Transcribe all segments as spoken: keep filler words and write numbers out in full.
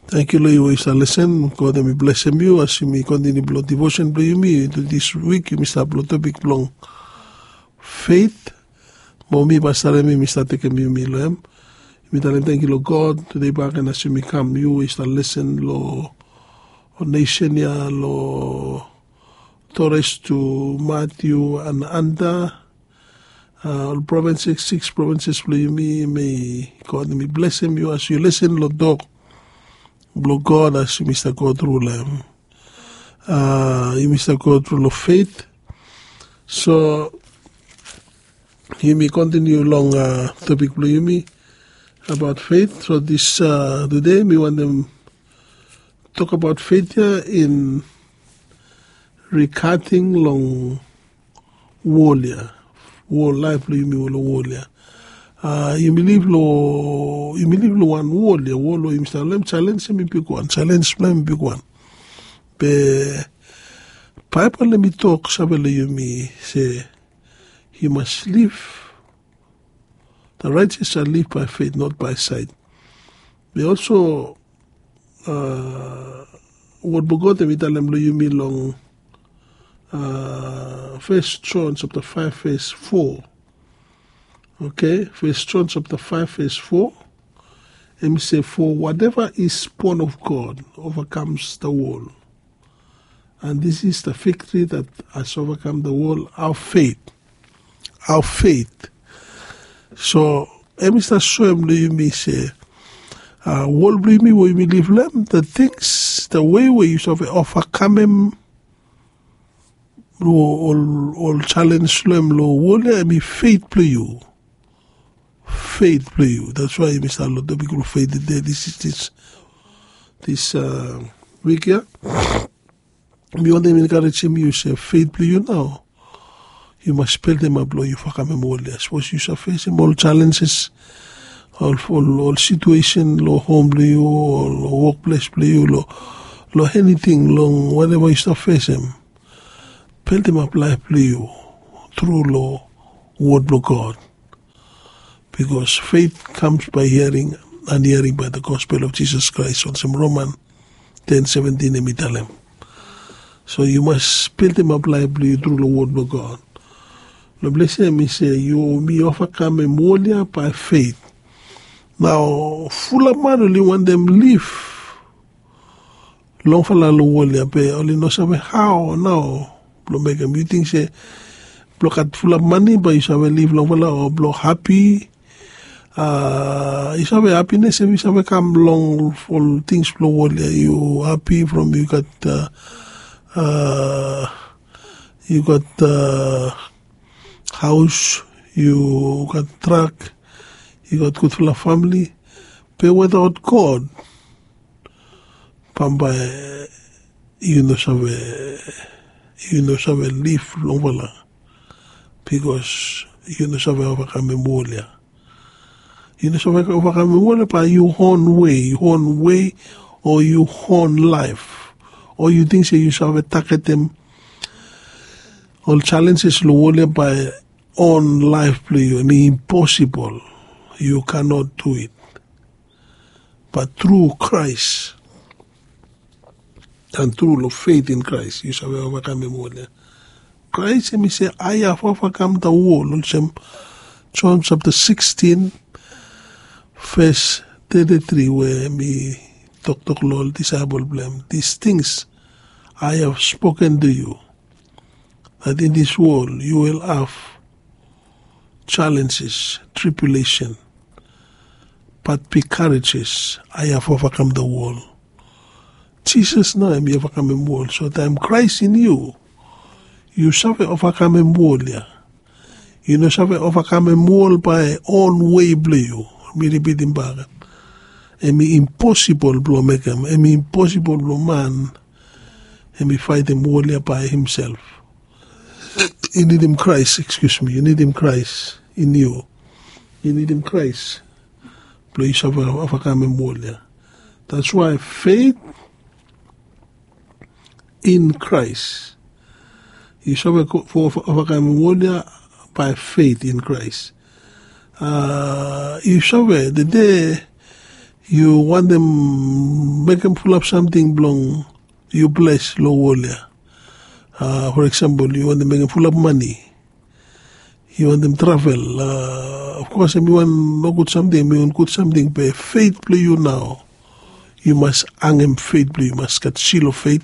Tangkiu long yu we yu stap lesen. God hem i blesem yu as yumi kontiniu blong divosen blong yumi. Into dis wik yumi stap long topik blong feit. Mo mi pastor hem yumi stap tekem yumi long hem. Yumi talem tangkiu long God tude baken as yumi kam yu we yu stap lesen long nesen ya long Torres tu Matiu and Anda. Ol provins siks provins blong yumi, mei God hem i blesem yu as yu lesen long tok blong God as yumi stap go tru long hem. Yumi stap go tru long feit. So yumi kontiniu long topik blong yumi abaot feit. So dis tude mi wantem tok abaot feit ya in rigating long wol ya, wol laef blong yumi long wol ya. Yumi liv long wan wol ya, wol we yumi stap long hem. Jalenj hem i bigwan, jalenj blong hem i bigwan. Be Baebol hem i tok save long yumi se yu mas liv. The righteous shall live by faith, not by sight. Be also wod blong God hem i talem long yumi long First John chapter five verse four. Okay, First John chapter five verse four. Hem i se, for whatever is born of God overcomes the world. And this is the victory that has overcome the world, our faith. Our faith. So hem i stap soem long yumi se wol blong yumi we yumi liv long hem, the things, the way we yu save ovakamem ol jalenj long hem long wol ya, hem i feit blong yu. Feit blong yu. That's why yumi stap long topik blong feit tude. This is this this wik ya. Mi wantem enkarejem yu se feit blong yu nao yu mas beldemap long yu ovakamem wol ya. Sapos yu save fesem ol jalenjes, ol ol situesen long hom blong yu o long wokples blong yu, long eniting, long wateva yu stap fesem, beldemap laef blong yu tru long wod blong God. Because faith comes by hearing, and hearing by the gospel of Jesus Christ, olsem Roman ten seventin hem i talem. So yu mas beldemap laef blong yu tru long wod blong God. Long ples ya hem i se yumi ovakamem wol ya by faith. Nao fulap man oli wantem liv longfala long wol ya, be oli no save hao nao blong mekem. Yu ting se blong gat fulap mane bae yu save liv longfala o blong hapi? Yu save, hapines hem i save kam long ol tings blong wol ya. Yu hapi from yu gat yu gat haos, yu gat trak, yu gat gudfala famili. Be wetaot God bambae yu no save, yu no save liv longfala. Bikos yu no save ovakamem wol ya. Yu no save ovakamem wol ya bae yu on wei, yu on wei o yu on laef, o yu ting se yu save tagetem ol jalenjes long wol ya bae on laef blong yu. Hem i imposibol. Yu kanot du it. Bat tru Kraes and tru long feit in Kraes yu save ovakamem wol ya. Kraes hem i se, I have overcome the world, olsem John chapter sixteen verse thirty-three we hem i toktok long ol disaepol blong hem, these things I have spoken to you, that in this world you will have challenges, tribulation, but be courageous, I have overcome the world. Jisas nao hem i ovakamem wol. So taem Kraes in yu, yu save ovakamem wol ya. Yu no save ovakamem wol bae on wei blong yu. Mi ripitim bak, hem i imposibol blong mekem, hem i imposibol blong man hem i faetem wol ya bae himself. Yu nidim Kraes, excuse me, yu nidim Kraes in yu. Yu nidim Kraes blong yu save ovakamem wol ya. That's why faith in Christ. Yu save ovakamem wol ya by faith in Christ. Yu save, the day yu wantem mekem fulap samting blong yu ples long wol ya. For eksempel, yu wantem mekem fulap mani, yu wantem travel. Of kos em i wan nogud samting, em i wan gud samting, be feit blong yu nao, yu mas angem feit blong yu, yu mas gat sil of feit.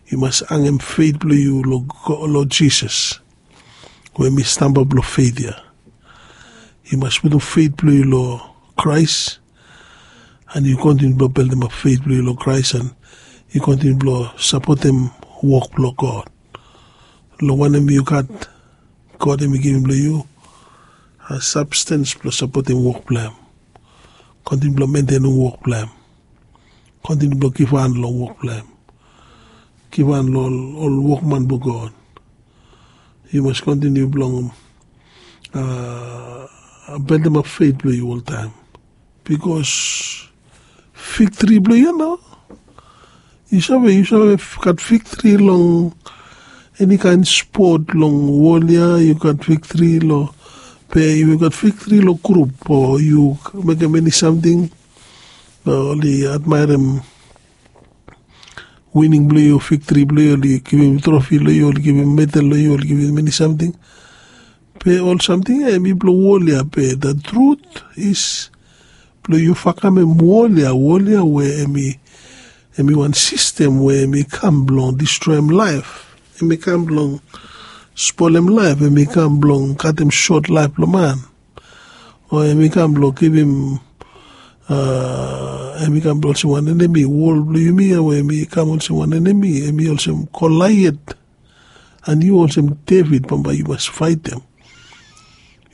Yu mas angem feit blong yu long Jisas, we em i stamba blong feit ya. Yu mas putum feit blong yu long Kraes, an yu kontiniu blong beldemap feit blong yu long Kraes, an yu kontiniu blong sapotem wok blong God. Long wanem yu gat, God em i givim long yu a sabstens blong sapotem wok blong em. Kontiniu blong mentenem wok blong em. Kontiniu blong givhan long wok blong em. Givhan long ol wokman blong God. Yu mas kontiniu blong beldemap feit blong yu oltaem, bikos viktri blong yu ya nao. Yu save, yu save gat viktri long eni kaen spot long wol ya. Yu gat viktri long, be yu gat viktri long grup, o yu mekem eni samting, oli admaerem wining blong yu, viktri blong yu, oli givim trofi long yu, oli givim medal long yu, oli givim eni samting. Be ol samting ya em i blong wol ya, be the truth is blong yu vakamem wol ya, wol ya we em i wan sistem we em i kam blong distroem laef. Em i kam blong spolem laef. Em i kam blong katem sot laef blong man. O em i kam blong givim, em i kam blong olsem wan enemi. Wol blong yumi ya we em i kam olsem wan enemi, em i olsem Kolaiat. An yu olsem Devid, bambae yu mas faetem.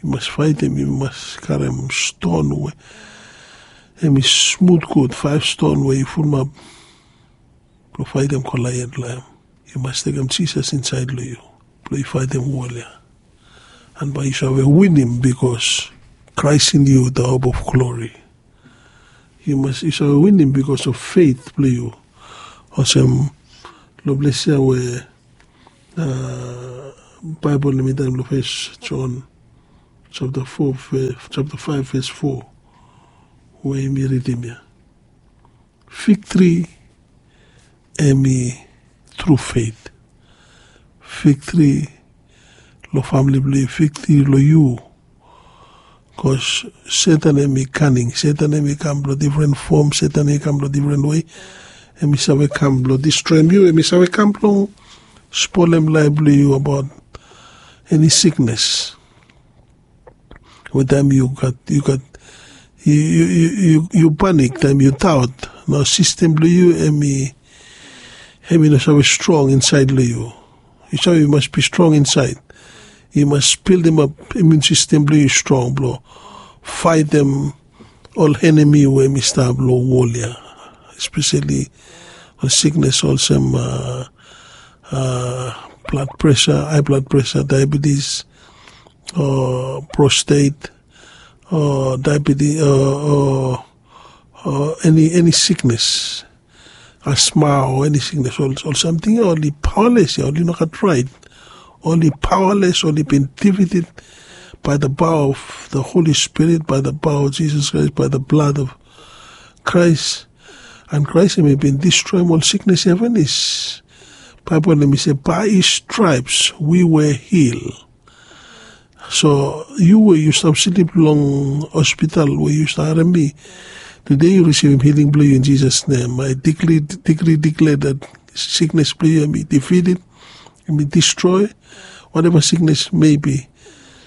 Yu mas faetem, yu mas karem ston we em i smut gud, faef ston we yu fulumap blong faetem Kolaiat long em. Yu mas tekem Jisas insaed long yu blong yu faetem wol ya. An bae yu save winim, bikos Christ in you, the hope of glory. Yu mas, yu save winim bikos of feit blong yu. Olsem long ples ya we Baebol em i talem long Fes Jon japta fo, japta faef ves fo, we yumi ridim ya. Viktri em i tru feit. Viktri long famle blong yu, viktri long yu. Bikos Setan em i kaning. Setan em i kam blong difren fom. Setan em i kam blong difren wei. Em i save kam blong distroem yu. Em i save kam blong spolem laef blong yu abaot eni siknes. We taem yu gat, yu gat, yu, yu, yu, yu panik, taem yu daot, nao sistem blong yu em i, em i no save strong insaed long yu. Yu save, yu mas bi strong insaed. Yu mas bildimap imiun sistem blong yu strong blong faetem ol enemi we em i stap long wol ya, espeseli ol siknes olsem blad presa, hae blad presa, daebetis, o prostet, o daebetis, o, o eni, eni siknes, asma, o eni siknes, ol, ol samting ya oli paoales ya, oli no gat raet. Oli paoales, oli bin defeated by the power of the Holy Spirit, by the power of Jesus Christ, by the blood of Christ. And Christ em i bin distroem ol siknes ya finis. Baebol em i se, by his stripes we were healed. So yu we yu stap slip long hospital, we yu stap harem mi, tede yu risivim hiling blong yu in Jisas nem. I decree, decree, declare that siknes blong yu em i defeated, em i distroe, whatever siknes maybe.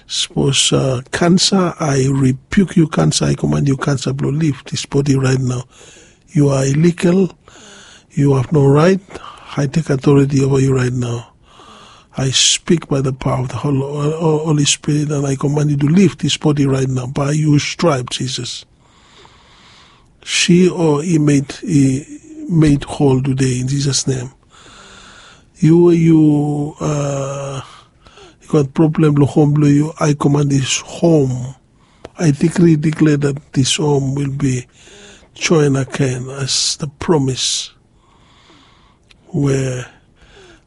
Sapos kansa, I rebuke you, kansa. I command you, kansa, blong leave this body right now. You are illegal. You have no right. I take authority over you right now. I speak by the power of the Hol-, Hol-, Holy Spirit, and I command you to leave this body right now by your stripe, Jesus. She or he made, he made whole today in Jesus' name. Yu, yu, uh, yu gat problem long hom blong yu, I command this home, I decree, declare that this home will be joined again as the promise we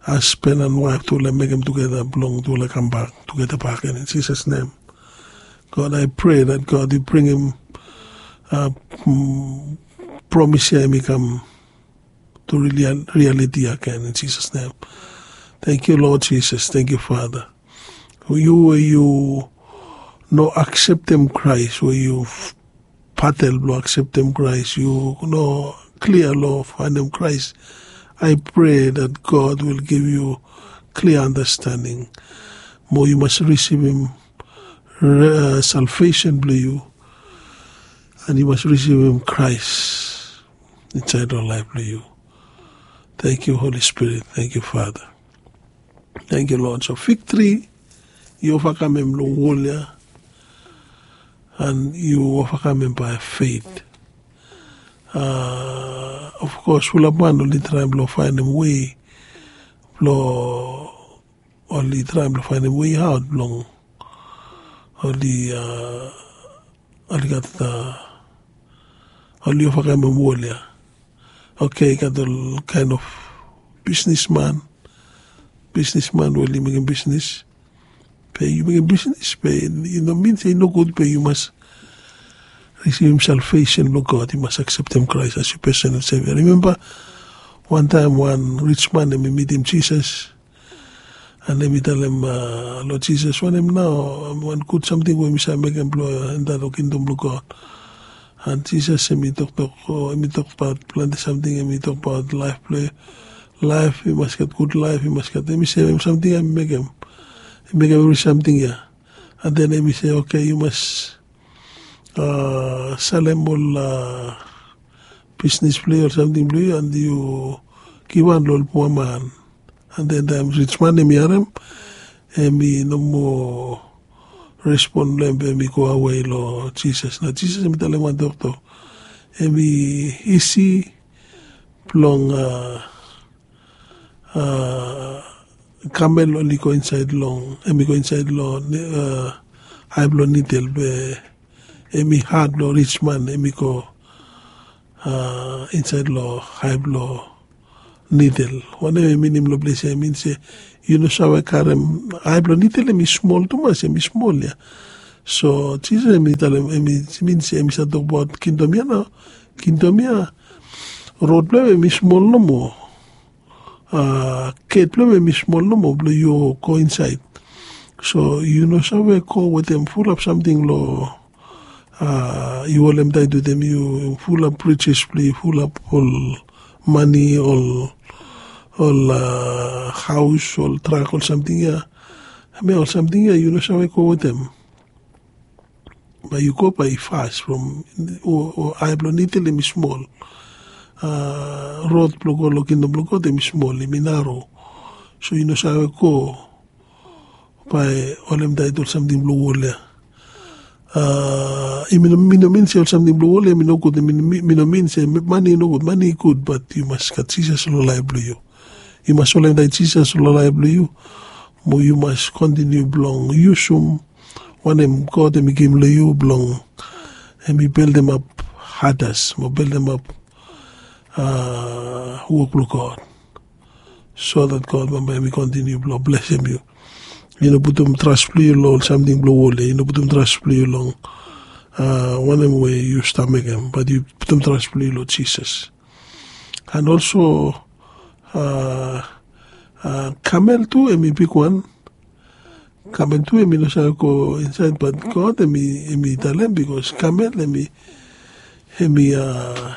hasban and waef tufala mekem tugeta blong tufala kambak tugeta bakegen in Jisas nem. God, I pray that God, yu bringim uh, mm, promise ya i kam to reality again in Jesus' name. Thank you, Lord Jesus. Thank you, Father. Yu we yu no akseptem Kraes, we yu patel blong akseptem Kraes, yu no klia long faenem Kraes. I pray that God will give you clear understanding. Mo yu mas risivim salvesen blong yu, and yu mas risivim Kraes insaed long laef blong yu. Thank you, Holy Spirit. Thank you, Father. Thank you, Lord. So fig tri, yu ovakamem long wol ya, and yu ovakamem by faith. Uh, of course, fulap man oli traem blong faenem wei blong oli traem blong faenem wei aot blong oli uh, oli gat uh, oli ovakamem wol ya. Okay, gat ol kaen of bisnisman, bisnisman we oli mekem bisnis. Be yu mekem bisnis be i no min se i nogud be yu mas risivim salvesen blong God, yu mas akseptem Kraes as yu personal sevia. Rimemba wantaem wan rijman hem i mitim Jisas, and hem i talem long Jisas, wanem nao wan gud samting we mi save mekem blong enta long kingdom blong God? And Jisas hem i toktok, hem i tokbaot plante samting, hem i tokbaot laef blong laef, i mas gat gud laef, i mas gat, hem i se hem samting ya hem i mekem, hem i mekem evri samting ya. And then hem i se, okay, yu mas uh, salem ol uh, bisnis blong yu, ol samting blong yu, and yu givhan long ol puaman. And then taem rijman hem i harem, hem i no moa respon blong hem be hem i go awe long Jisas. Nao Jisas hem i talem wan toktok, hem i isi blong uh, uh, kamel oli go insaed long, hem i go insaed long uh, ae blong nidel, be hem i had blong rijman hem i go uh, insaed long ae blong nidel. Wanem hem i minim long ples ya? Hem i min se yu no save karem, ae blong nidel hem i smol tumas, hem i smol ya. So Jisas hem i talem, hem i min se hem i save tokbaot kingdom ya nao. Kingdom ya, rod blong hem hem i smol nomo. Uh, get blong hem hem i smol nomo blong yu go insaed. So yu no save go wetem fulap samting long uh, yu holem taet wetem yu, fulap rijes blong yu, fulap ol mane, ol ol uh, haos, ol trak, ol samting ya. Hemia ol samting ya yu no save go wetem. Bae yu go bae i fas from ae blong nidel hem i smol. Uh, rod blong go long kingdom blong God hem i smol, hem i naro. So yu no save go bae holem taet ol samting blong wol ya. Uh, mi no min se ol samting blong wol ya mi nogud, mi no min se mane i nogud, mane i gud, bat yu mas gat Jisas long laef blong yu. Yu mas holem taet Jisas long laef blong yu, mo yu mas kontiniu blong yusum wanem God hem i givim long yu blong hem i beldemap hadas mo beldemap uh, wok blong God, so that God bambae hem i kontiniu blong blesem yu. Yu no putum tras blong yu long ol samting blong wol ya, yu no putum tras blong yu long uh, wanem we yu stap mekem, bat yu putum tras blong yu long Jisas. And also uh, uh, kamel tu hem i bigwan. Kamel tu hem i no save go insaed, bat God hem i talem, bikos kamel hem i hem i uh,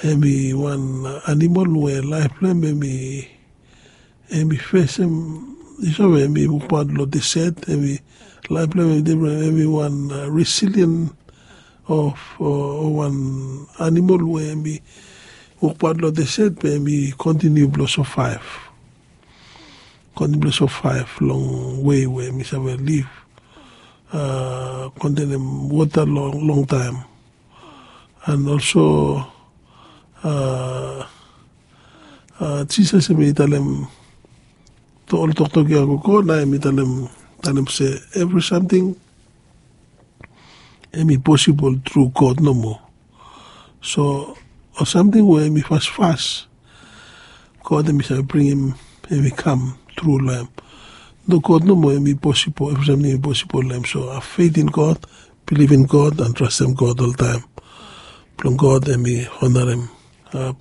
hem i wan animol we laef blong hem hem i fesem, yu save, hem i wokbaot long deset, hem i laef blong hem hem i difren, hem i wan uh, resilien of uh, wan animol we hem i wokbaot long deset be hem i kontiniu blong sovaev. Kontiniu blong sovaev long wei we hem i save liv uh, kontenem wota long longtaem. And also uh, uh, Jisas hem i talem ol toktok ya gogo, nao hem i talem, talem se evri samting hem i posibol tru God nomo. So ol samting we hem i fasfas, God hem i save bringim hem i kam tru long hem. No, God nomo hem i posibol, evri samting hem i posibol long hem. So have faith in God, bilivim God and trastem God oltaem. Blong God em i onarim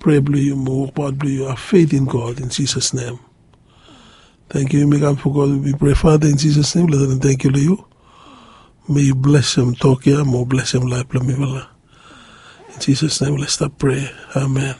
prea blong yu mo wokbaot blong yu, a faith in God in Jesus' name. Thank you, yumi kam fo God, we pray Father in Jesus' name, let them thank you to you. May you bless them, talk here, more bless them life, let me. In Jesus' name, let's stop pray. Amen.